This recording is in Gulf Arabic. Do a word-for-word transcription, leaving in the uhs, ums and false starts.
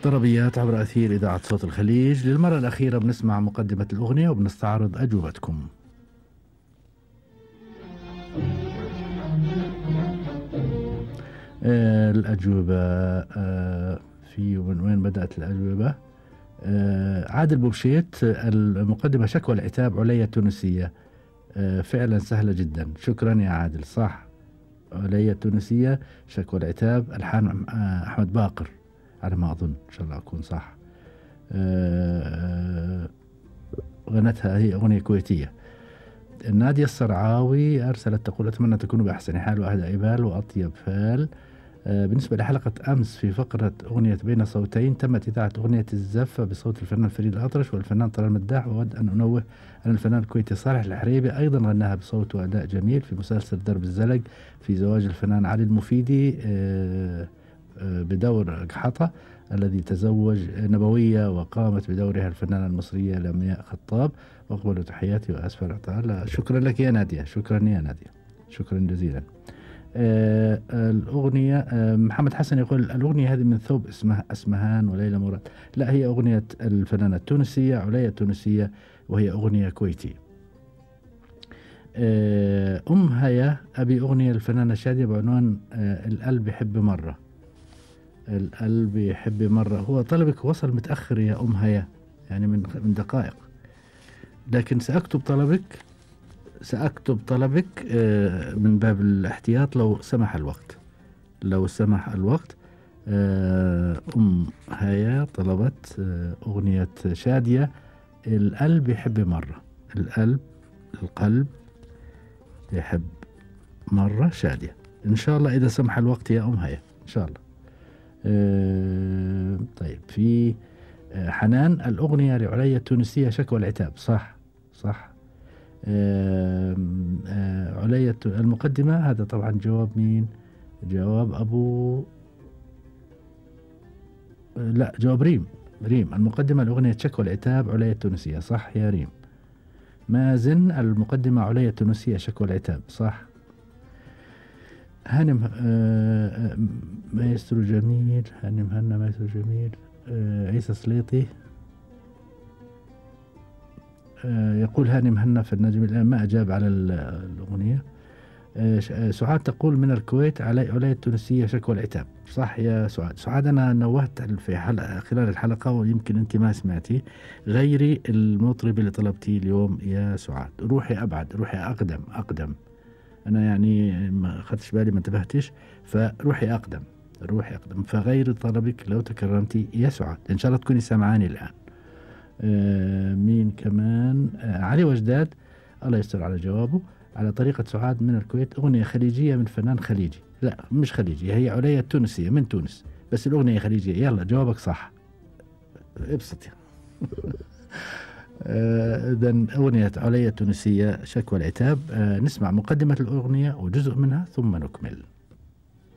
طربيات عبر أثير إذاعة صوت الخليج. للمرة الأخيرة بنسمع مقدمة الأغنية وبنستعرض أجوبتكم. آه الأجوبة آه في من وين بدأت الأجوبة؟ آه عادل بوبشيت، المقدمة شكوى العتاب عليا التونسية. آه فعلا سهلة جدا، شكرا يا عادل. صح، عليا التونسية شكوى العتاب، ألحان آه أحمد باقر على ما أظن، إن شاء الله أكون صح. آه غنتها هي أغنية كويتية. نادية الصرعاوي أرسلت تقول أتمنى تكونوا بأحسن حال وأهدى بال وأطيب فال. آه بالنسبة لحلقة أمس في فقرة أغنية بين صوتين، تمت إذاعة أغنية الزفة بصوت الفنان فريد الأطرش والفنان طلال مداح، وأود أن أنوه أن الفنان الكويتي صالح الحريبي أيضا غناها بصوت وأداء جميل في مسلسل درب الزلق في زواج الفنان علي المفيدي آه آه بدور قحطة الذي تزوج نبوية، وقامت بدورها الفنانة المصرية لمياء خطاب. وأقبل تحياتي وأسفل تعالى. شكرا لك يا نادية، شكرا يا نادية، شكرا جزيلا. آه الأغنية آه محمد حسن يقول الأغنية هذه من ثوب اسمها أسمهان وليلى مراد. لا، هي أغنية الفنانة التونسية عليا التونسية، وهي أغنية كويتية. آه أم هيا أبي أغنية الفنانة شادية بعنوان آه القلب يحب مرة. القلب يحب مرة، هو طلبك وصل متأخر يا أم هيا، يعني من من دقائق، لكن سأكتب طلبك سأكتب طلبك من باب الاحتياط لو سمح الوقت. لو سمح الوقت. أم هيا طلبت أغنية شادية القلب يحب مرة. القلب القلب يحب مرة شادية، إن شاء الله إذا سمح الوقت يا أم هيا، إن شاء الله. طيب، في حنان الأغنية لعليا التونسية شكوى العتاب. صح صح. آه آه عليا المقدمة، هذا طبعا جواب مين؟ جواب أبو آه لا جواب ريم. ريم المقدمة الأغنية شكوى العتاب عليا التونسية. صح يا ريم. مازن المقدمة عليا التونسية شكوى العتاب. صح. هانم آه مايسترو جميل، هانم هنا مايسترو جميل. آه عيسى سليطي يقول هاني مهنا في النجم الآن ما أجاب على الأغنية. سعاد تقول من الكويت علي علي التونسية شكوى العتاب. صح يا سعاد. سعاد أنا نوهت في حلقة خلال الحلقة ويمكن أنت ما سمعتي، غيري المطرب اللي طلبتيه اليوم يا سعاد، روحي أبعد، روحي أقدم أقدم. أنا يعني ما أخذتش بالي، ما انتبهتش، فروحي أقدم روحي أقدم فغير طلبك لو تكرمتي يا سعاد، إن شاء الله تكوني سمعاني الآن. آه مين كمان؟ آه علي وجداد، الله يستر على جوابه. على طريقة سعاد من الكويت أغنية خليجية من فنان خليجي. لا مش خليجي، هي عليا التونسية من تونس، بس الأغنية خليجية. يلا جوابك صح، ابسط. إذا آه أغنية عليا التونسية شكوى العتاب. آه نسمع مقدمة الأغنية وجزء منها ثم نكمل.